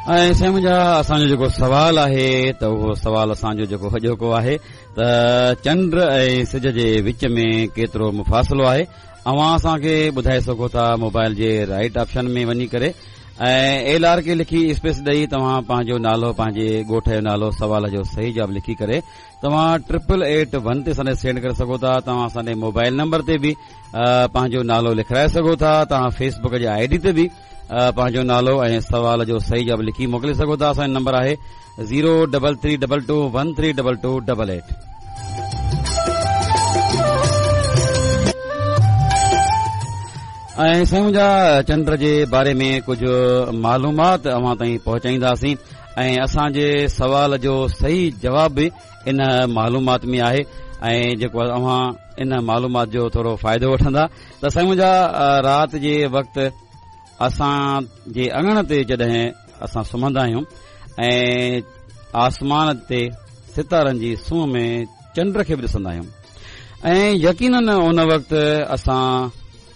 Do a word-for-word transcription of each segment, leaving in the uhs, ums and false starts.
۽ سائين منهنجا، اسان جو جيڪو سوال آهي ته اهو سوال اسان جو جيڪو اڄوڪو آهي ته چنڊ ۽ سج جي وچ ۾ ڪيترو مفاصلو آهي؟ اوهان اسان کي ٻڌائي سگهو ٿا موبائل جي رائيٽ آپشن ۾ وڃي ڪري ۽ ايل آر ڪي لکي اسپيس ڏئي توهان پنهنجو نالو، پنهنجي ڳوٺ جو نالو، سوال جو صحيح جواب لکي ڪري توهان ٽرپل ايٽ ون تي اسان ڏي سينڊ ڪري سگهو ٿا. توهان اسان ڏي موبائل نمبر تي به پنهنجو نالو لکرائي سگهو ٿا. توهان فيس بڪ جي I D تي به پنهنجو نالو ۽ سوال جو صحيح جواب لکي موڪلي سگهو ٿا. اسان جو نمبر آهي zero double three double two one three double two double eight. ۽ سائين منهنجا، چنڊ جي باري ۾ ڪجهه معلومات اوهان تائين پهچائينداسين ۽ اسان جي سوال جو صحيح جواب به ان معلومات ۾ آهي ۽ جيڪو اوهان ان معلومات جو ٿورو فائدو وٺندا ته سائين منهنجا، رات جي وقت اسان جي اڱڻ تي جڏهن اسان سمهندا آهيون ۽ آسمان تي ستارن جي سونهن ۾ چنڊ کي به ڏسندا آهيون ۽ يقينن ان وقت اسان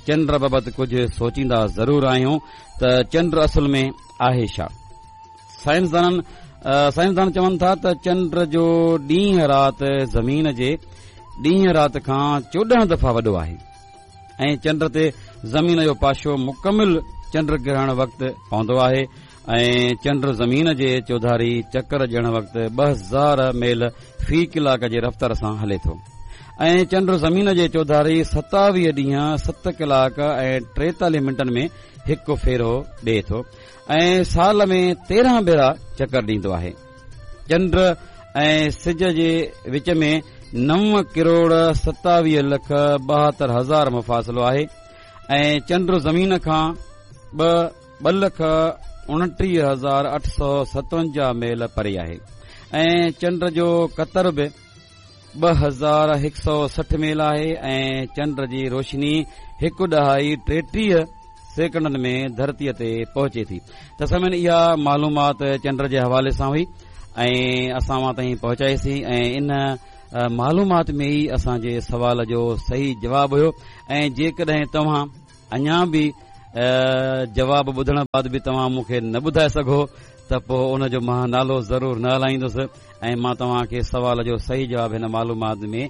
چنڊ بابت ڪجهه سوچيندا ضرور آهيون ته چنڊ اصل ۾ آهي ڇا؟ سائنسدانن سائنسدان چون ٿا ته چنڊ جو ڏينهن رات زمين جي ڏينهن رات کان چوڏهن دفعا وڏو آهي ۽ چنڊ تي زمين جو پاشو مڪمل چنڊ گرهڻ وقت پوندو آهي ۽ چنڊ زمين جي چوڌاري چڪر ڏيڻ وقت ٻه هزار ميل في ڪلاڪ جي رفتار سان هلي ٿو ۽ چنڊ زمين جي چوڌاري ستاويهه ڏينهن ست ڪلاڪ ۽ ٽيتاليهه منٽن ۾ هڪ ڦيرو ڏئي ٿو ۽ سال ۾ تيرهن ڀيرا چڪر ڏيندو آهي. چنڊ ۽ سج جي وچ ۾ نو ڪروڙ ستاويهه لک ٻاهتر هزار مفاصلو آهي ۽ چنڊ زمين کان ٻه ٻه لک اڻٽيهه هزار اٺ سؤ ستونجاهه ميل پري آهي ۽ چنڊ جو قطر به ٻه هزار هڪ سؤ سٺ ميل آهي ۽ چنڊ جي روشني هڪ ڏهائي ٽيٽيهه سيڪنڊن ۾ ڌرتيء تي پهچي ٿي. ته سامعين، اها معلومات چنڊ جي حوالي سان هئي ۽ اسان اوهان تائين پهچائيسين ۽ ان معلومات ۾ ئي اسان جي سوال جو صحيح جواب هيو ۽ جيڪڏهن توهان اڃا به جواب ٻڌڻ بعد به توهان مون کي نه ٻڌائي سگهو ته پوء ان جو مان نالو ضرور نه هلائيندس ۽ مان توهان کي سوال جو صحيح جواب هن معلومات ۾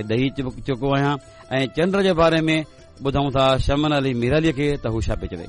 ڏئي چڪو آهيان ۽ چنڊ جي باري ۾ ٻڌون ٿا شمن علي ميرالي کي ته هو ڇا پئي چوي.